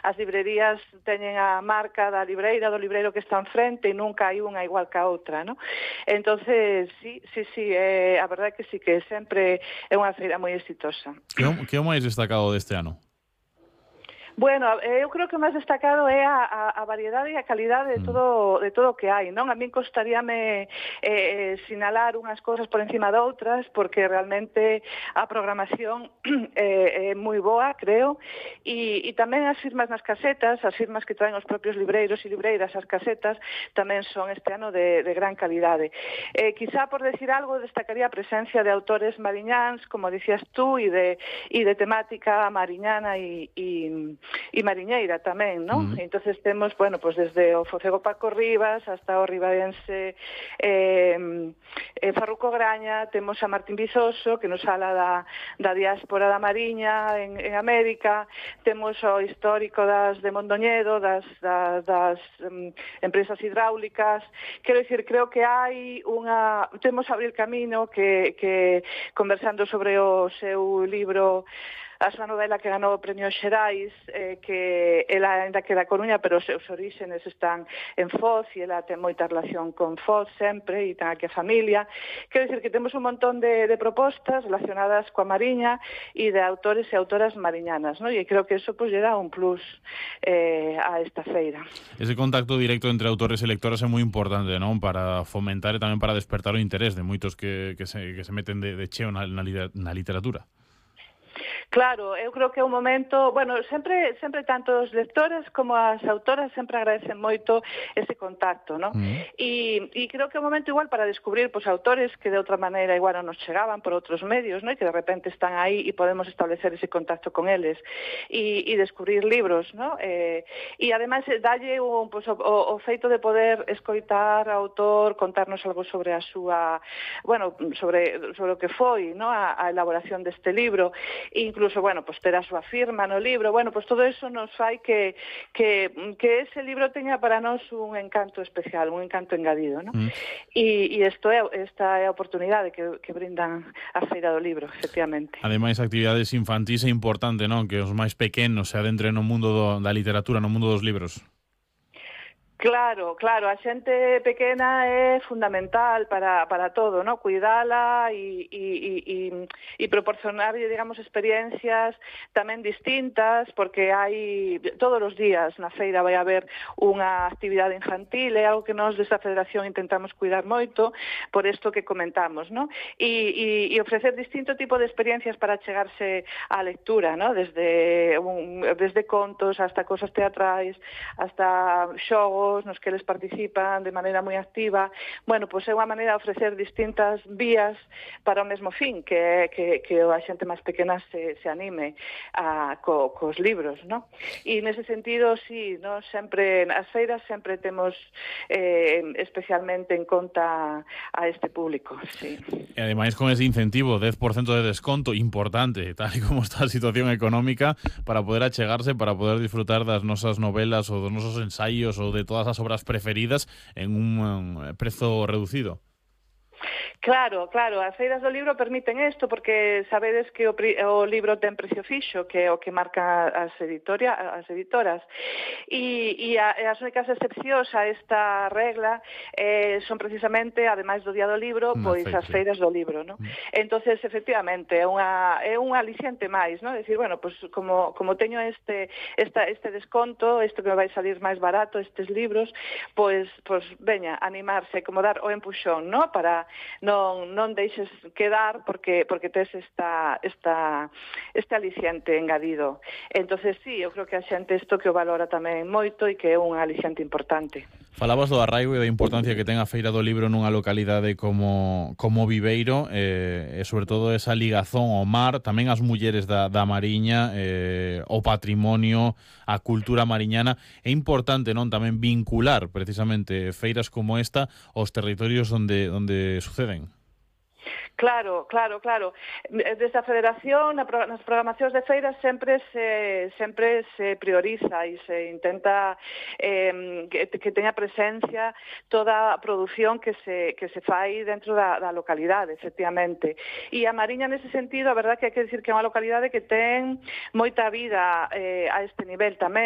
as librerías teñen a marca da libreira, do libreiro que está enfrente e nunca hai unha igual que a outra, non? Entonces, sí, a verdade é que sí, que sempre é unha feira moi exitosa. Que é o máis destacado deste ano? Bueno, eu creo que o máis destacado é a variedade e a calidade de todo o que hai, non? A min costaríame sinalar unhas cousas por encima de outras, porque realmente a programación é moi boa, creo, e tamén as firmas nas casetas, as firmas que traen os propios libreiros e libreiras as casetas, tamén son este ano de gran calidade. Quizá por decir algo, destacaría a presencia de autores mariñáns, como dicías tú, e de temática mariñana e mariñeira tamén, non? Entonces temos, bueno, pues desde o Focego Paco Rivas hasta o ribaense Farruco Graña, temos a Martín Vizoso, que nos fala da diáspora da Mariña en América, temos o histórico de Mondoñedo, das empresas hidráulicas. Quero dicir, creo que hai temos Abril Camino, que conversando sobre o seu libro, a súa novela que ganou o Premio Xerais, que ela ainda que da Coruña, pero os seus orígenes están en Foz, e ela ten moita relación con Foz sempre, e ten aquí a familia. Quero dicir que temos un montón de propostas relacionadas coa Mariña e de autores e autoras mariñanas, non? E creo que eso lle dá un plus a esta feira. Ese contacto directo entre autores e lectoras é moi importante, non? Para fomentar e tamén para despertar o interés de moitos que se meten de cheo na literatura. Claro, eu creo que é un momento, bueno, sempre tanto os lectores como as autoras sempre agradecen moito ese contacto, non? E creo que é un momento igual para descubrir autores que de outra maneira igual non nos chegaban por outros medios, non? E que de repente están aí e podemos establecer ese contacto con eles e descubrir libros, non? E ademais dalle o feito de poder escoitar ao autor, contarnos algo sobre a súa, bueno, sobre o que foi, non? A elaboración deste libro, incluso, bueno, pues ter a súa firma no libro, bueno, pues todo eso nos fai que ese libro teña para nós un encanto especial, un encanto engadido, non? E esta é a oportunidade que brindan a Feira do Libro, efectivamente. Ademais, actividades infantís é importante, non? Que os máis pequenos se adentren no mundo da literatura, no mundo dos libros. Claro, a xente pequena é fundamental para todo, ¿no? Cuidala e proporcionarlle, digamos, experiencias tamén distintas, porque hai todos os días na feira vai haber unha actividade infantil, é algo que nós desta federación intentamos cuidar moito por isto que comentamos, ¿no? E ofrecer distinto tipo de experiencias para chegarse á lectura, ¿no? Desde contos hasta cosas teatrais, hasta xogos nos que eles participan de maneira moi activa. Bueno, pois é unha maneira de ofrecer distintas vías para o mesmo fin, que a xente máis pequena se anime cos libros, non? E nese sentido, sí, non? Sempre, as feiras sempre temos especialmente en conta a este público, sí. E ademais con ese incentivo, 10% de desconto, importante, tal e como está a situación económica, para poder achegarse, para poder disfrutar das nosas novelas ou dos nosos ensaios ou de todas as obras preferidas en un prezo reducido. Claro, as feiras do libro permiten isto, porque sabedes que o libro ten precio fixo, que é o que marca as editoras, e as únicas excepcións a esta regla son precisamente, ademais do Día do Libro, pois as feiras do libro, non? Entonces, efectivamente, é un aliciente máis, non? Decir, bueno, pois como teño este desconto, isto que me vai salir máis barato, estes libros, pois veña, animarse, como dar o empuxón, non? Para non deixes quedar porque tes este aliciente engadido. Entonces, sí, eu creo que a xente isto que o valora tamén moito e que é un aliciente importante. Falabas do arraigo e da importancia que ten a Feira do Libro nunha localidade como Viveiro, e sobre todo esa ligazón ao mar, tamén as mulleres da Mariña, o patrimonio, a cultura mariñana. É importante, non, tamén vincular precisamente feiras como esta aos territorios onde suceden. Claro. Desde a Federación, nas programacións de feiras sempre se prioriza e se intenta que teña presencia toda a produción que se fai dentro da localidade, efectivamente. E a Mariña, nese sentido, a verdade que hai que dicir que é unha localidade que ten moita vida a este nivel tamén.